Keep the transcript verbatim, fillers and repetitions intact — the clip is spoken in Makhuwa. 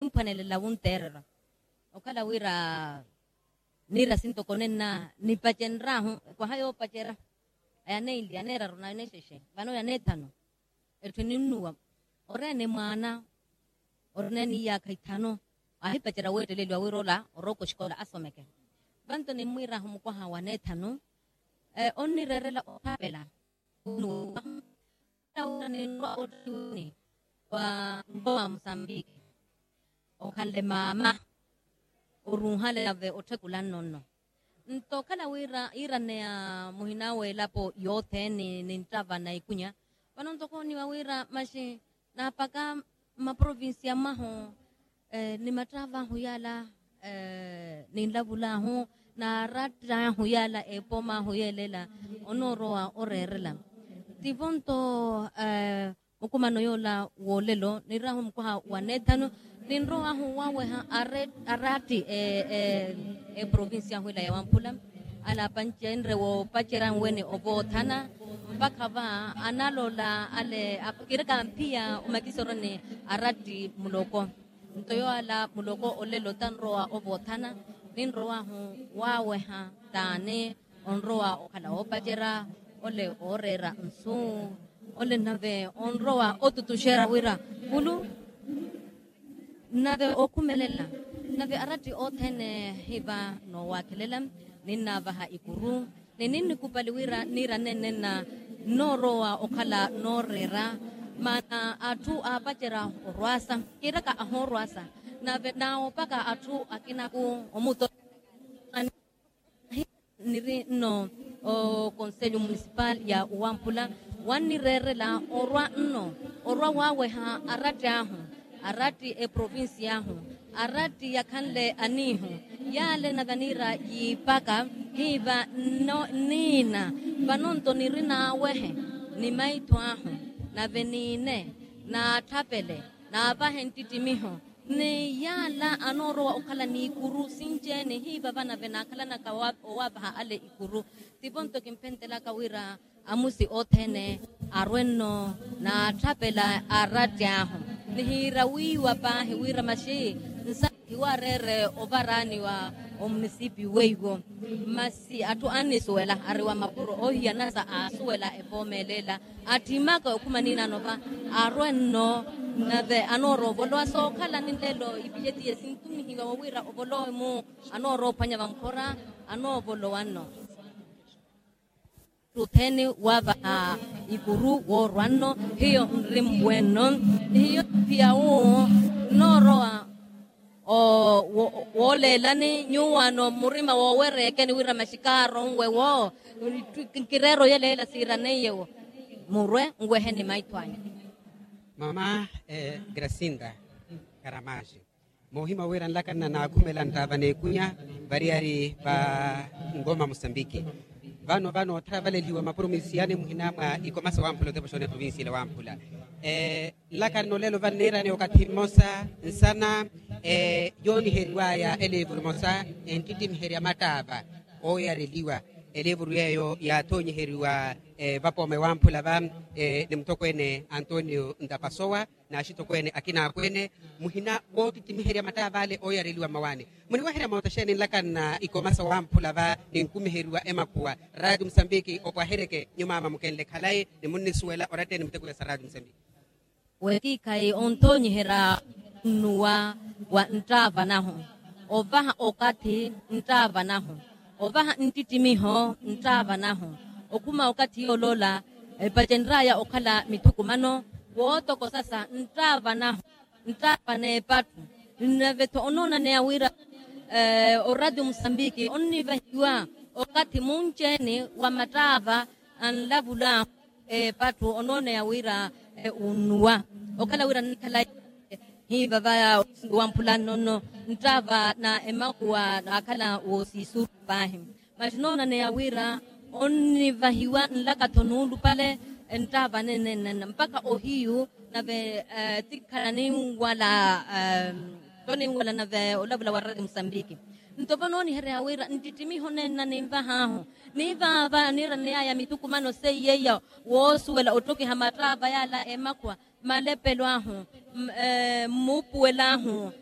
Nimphwanelela wunteererya okhala wira niira sintoko nenna nipacenryahu ekwaha yoopacerya. Yanenli yaneeraru nanexexe vano yaneethanu. Etthu eninnuwa oreene mwaana orina ni iyaakha ithanu ahipacerya weetteleliwa wira ola orooka oxikola asomeke. Vanto nimmwiirahu mukwaha waneethanu onnireerela othapela. Otthiwini wa nkowa musambiki okhanle maama oruuhale nave otthekula nno nno. Nto okhala wira yiiraneya muhina w'elapo yothene ninttava na ikunya. Vano ntoko oniwa wira maxi naapaka mmaprovincia mwahu ni matrav'ahu yaala ninlavulahu n'aratt'ahu yaala epoom'ahu yeelela onoorowa oreerela. Tivo nto mukumano yoola w'olelo niraahu mukwaha wa neethanu ninrow'ahu waweha aratti eprovincia ahu ila ya wamphula. Alaapancenrye woopacerya nwene ovoothana mpakha va analola ale kiraka mphiya omakisoro ni aratti muloko. Nto yoala muloko olelo tanrowa ovoothana ninrow'ahu waweha taani onrowa okhala woopacerya ole ooreera nsu ole nave onrowa otutuxerya wira kulu nave okhumelela nave aratti othene hiva noowakhelela ninnaavaha ikuru ni ninnikupali wira niira nenenna nnoorowa okhala nooreera maana atthu aapacerya orwaasa kiiraka ahoorwaasa nave naawopaka atthu akinaku omuto niri nno okonselho municipal ya uwampula wannireerela orwa nno orwa waaweha aratti ahu aratti eprovincia ahu aratti yakhanle aniihu yaale nave aniira yiipaka hiiva nno nniina vano nto niri naawehe ni maitho ahu nave niine naatthapele naavahe nttittimiho ni yaala anoorowa okhala n'ikuru sinci-ene hiiva vanave naakhalanaka owaavaha ale ikuru. Tivo nto kimphentelaka wira amusi othene arwe nno naatthapela aratti ahu nihiira wiiwa paahi wira maxi nsa hiwareere ovaraani wa omunisipi weiwo masi atthu annisuwela ari wa mapuro oohiyanasa aasuwela epoomeleela atthimaka okhuma niinano va arwe nno nave anoorowa ovolowa sookhala ni nlelo ipicetiye sintumihiwa wowira ovolowe-mu anoorowa ophwanya vamphora anoovolowa nno. Tutheni waavaha ikuru woorwa nno hiyo nri mwe nno hiyo phiya wu nnoorowa wooleelani nyuwaano murima woowereekeni wira maxikaaro nwe wo nkireera oyeleela siiraneiye wo murwe nweheni maitho anyu. Mama gracinda karamaxi moohimya wira nlakanna naakhumela nttaava n'ekunya variyari va ngoma musambiki vano vano otthavaleliwa maprovincia ni muhina mwa ikomasa wamphula otepa oxoona eprovincia ila wamphula nlakanna olelo vanniirani okathi mmosa nsana yooniheriwaya elivuru emosa enttittimiherya mattaava ooyareliwa elivuru yeeyo yaathonyiheriwa vapooma ewamphula va ni muttokweene antonio ntapasowa n'axitokweene akina akweene muhina woottittimiherya mattaava ale ooyareliwa mmawaani muniweherya moota xeeni nlakanna ikomasa wamphula va ninkumiheriwa emakhuwa raati musambiki opwahereke nyumaama mukenle khalayi ni munnisuwela oratteni muttekuya sa raati musambiki. Wekiikhayi onthoonyiherya onnuwa wa nttaava nahu ovaha okathi nttaava nahu ovaha nttittimiho nttaava nahu okhuma okathi yooloola epacenry'aya okhala mithukumano wootokosasa nttaava nahu nttaava n'epattu nave-tho onoonaneya wira oradio musambiki onnivahiwa okathi munci-ene wa mattaava anlavul'ahu epattu onooneya wira unnuwa okhala wira nnikhala hiiva vaya wamphula nno nno nttaava na emakuwa naakhala woosiisuru paahi masi onoonaneya wira onnivahiwa nlaka-tho nuulupale nttaava nenenenna mpakha ohiyu nave tikhala ninwala toniinwala nave olavula wa radio musambiki nto vanooniherya wira nttittimiho nenna ninvah'ahu niivaava niiraney'aya mithukumano seiya iya woosuwela ottokiha mattaava yaala emakhuwa malepelo ahu, mmuupuwelo ahu,